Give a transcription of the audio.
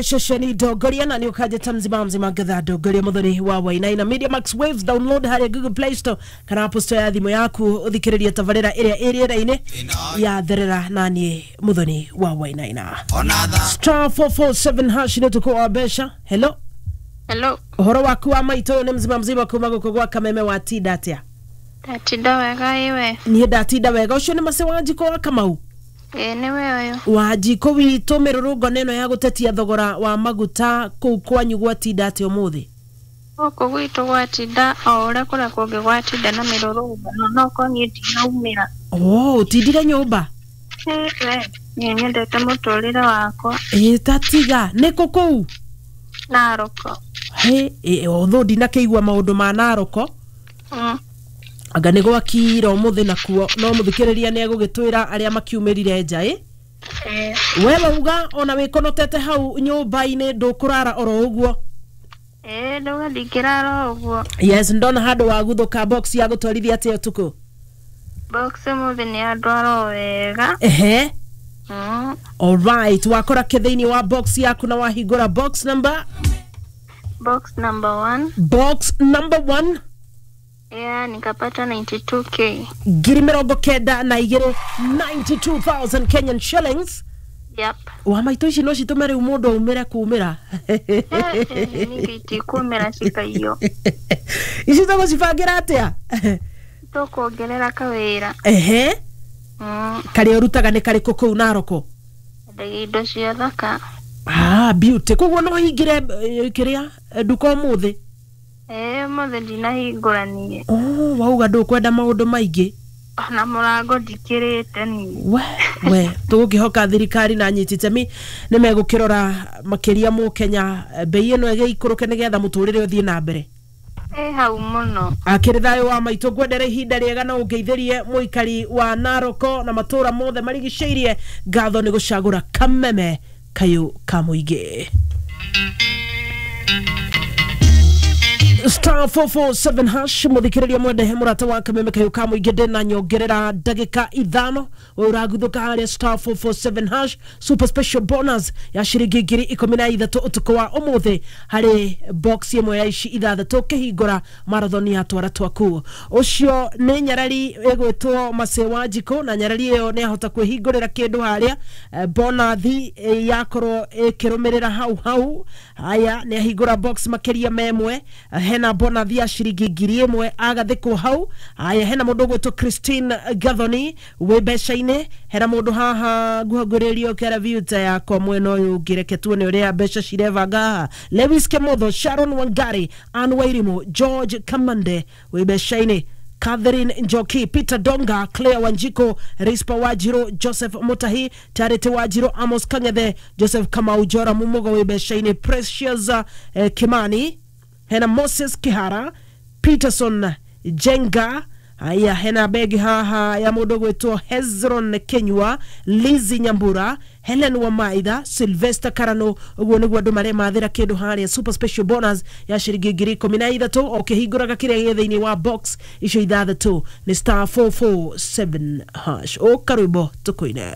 Ceceni Ndongoria na nä å kanjä mzima mzima ngatha Ndongoria Muthoni wa Wainaina. Media Max Waves, download harä Google Play Store kana Apple Store ya thimå yaku å thikä rä rie tabarä ra ä rä a ä rä era-inä ya therera naniä Muthoni wa Wainaina. *447# nä å tukå wa mbeca. Hello. Hello. Ũhoro waku wa maitũ? Ũyũ nĩ mzima mzima kuma gũkũ gwa Kameme. Watinda atĩa? Ndatinda wega, iwe? Niĩ ndatinda wega. Ũcio nĩ Mace Wanjikũ wa Kamau? Ĩĩ, nĩwe ũyũ. Wanjikũ witũ, mĩrũrũngano ĩno ya gũtetia thogora wa maguta kũu kwanyu gwatinda atĩa ũmũthĩ? Gũkũ gwitũ gwatinda o ũrĩa kũrĩa kũngĩ gwatinda na mĩrũrũngano, no ko niĩ ndinaumĩra. Oh, ũtindire nyũmba? Ĩ, we niĩ nyendete mũtũrĩre wakwa. Ĩ, tatiga nĩ kũ kũu? Naroko. Hĩ, ũthũ ndinakĩigua maũndũ ma Naroko. Anga nĩ gwakira ũmũthĩ nakuo? No mũthikĩrĩria nĩ egũgĩtwĩra arĩa makiumĩrire nja ĩ. Ĩĩ. We wauga ona wĩkonotete hau nyũmba-inĩ, ndũkũrara oro ũguo? Ĩĩ, ndauga ndingĩrara o ũguo. Yes, ndona handũ waguthũka box ya gũtwarithia atĩa ũtukũ? Box ũmũthĩ nĩ yandwara o wega. Ehe. Alright, wakora kĩ thĩinĩ wa box yaku na wahingũra box number? Box number 1. Box number 1. Yeah, nikapata 92K. 92,000, 92,000 Kenyan shillings. Yep. Wa maitũ, ici no citũme rĩu mũndũ aumĩre kumĩra. Ningĩ itikumĩra cikaiyo. Ici tũgũcibangĩra atĩa? Tũkuongerera kawĩra. Ehe. Karĩa ũrutaga nĩ karĩkũ kũu Naroko? Endagia indo cia thaka. Ah, beauty. Koguo no hingĩre kĩrĩa nduka ũmũthĩ? Ĩĩ, ũmũthĩ ndinahingũra niĩ. Oh, wauga ndũkwenda maũndũ maingĩ. Ona mũrango ndikĩrĩte niĩ. We we tũgũkĩhoka thirikari na anyiti itemi nĩ megũkĩrora makĩria mũkenya, bei ĩno ĩgĩikũrũke nĩgetha mũtũrĩre ũthiĩ na mbere. Ĩ, hau mũno. Akĩrĩ thayũ wa maitũ, ngwendere ihinda rĩega na ũngeithĩrie mũikari wa Naroko na matũra mothe marigicĩirie ngatho nĩ gũcagũra Kameme kayũ ka mũingĩ. *447# mũthikĩrĩria mwendehe mũrata wa Kameme kayũ ka mũingĩ, ndĩna nyongerera ndagĩka 5. We ũraguthũka harĩa *447# super special bonus ya ciringi 13,000 ũtukũ wa ũmũthĩ harĩ box ĩmwe ya ici ithathatũ kĩhingũra marathon ya twara twaku. Ũcio nĩ nyarari ĩgwĩtwo Mace Wanjikũ, na nyarari ĩyo nĩ ahota kwĩhingũrĩra kĩndũ harĩa bonathi yakorwo ĩkĩrũmĩrĩra hau hau. Haya, nĩ ahingũra box makĩria memwe, hena bonathi ya ciringi 1,000 agathĩkwo hau. Haya, hena mũndũ ũgwĩtwo Christine Gathoni wĩ mbeca-inĩ. Hena mũndũ haha nguhagũrĩrio keraviuta yakwa mwena ũyũ ũngĩ, reke tuone ũrĩa mbeca cirebanga haha. Lewis Kemotho, Sharon Wangari, Ann Wairimu, George Kamande wĩ mbeca-inĩ, Catherine Njoki, Peter Donga, Claire Wanjiko, Rispa Wajiro, Joseph Mutahi, Charity Wajiro, Amos Kangethe, Joseph Kamau, Jora Mumugo wĩ mbeca-inĩ, Precious Kimani, hena Moses Kihara, Peterson Jenga. Haya, hena begi haha ya mũndũ gwĩtwo Hezron Kenyua, Lizi Nyambura, Helen Wamaitha, Sylvester Karano. Ũguo nĩguo andũ maremathĩra kĩndũ harĩa super special bonus ya ciringi 13,000 ũkĩhingũraga kĩrĩa gĩ thĩinĩ wa box icio ithathatũ nĩ *447#. Ũka rwĩmbo tũkũine.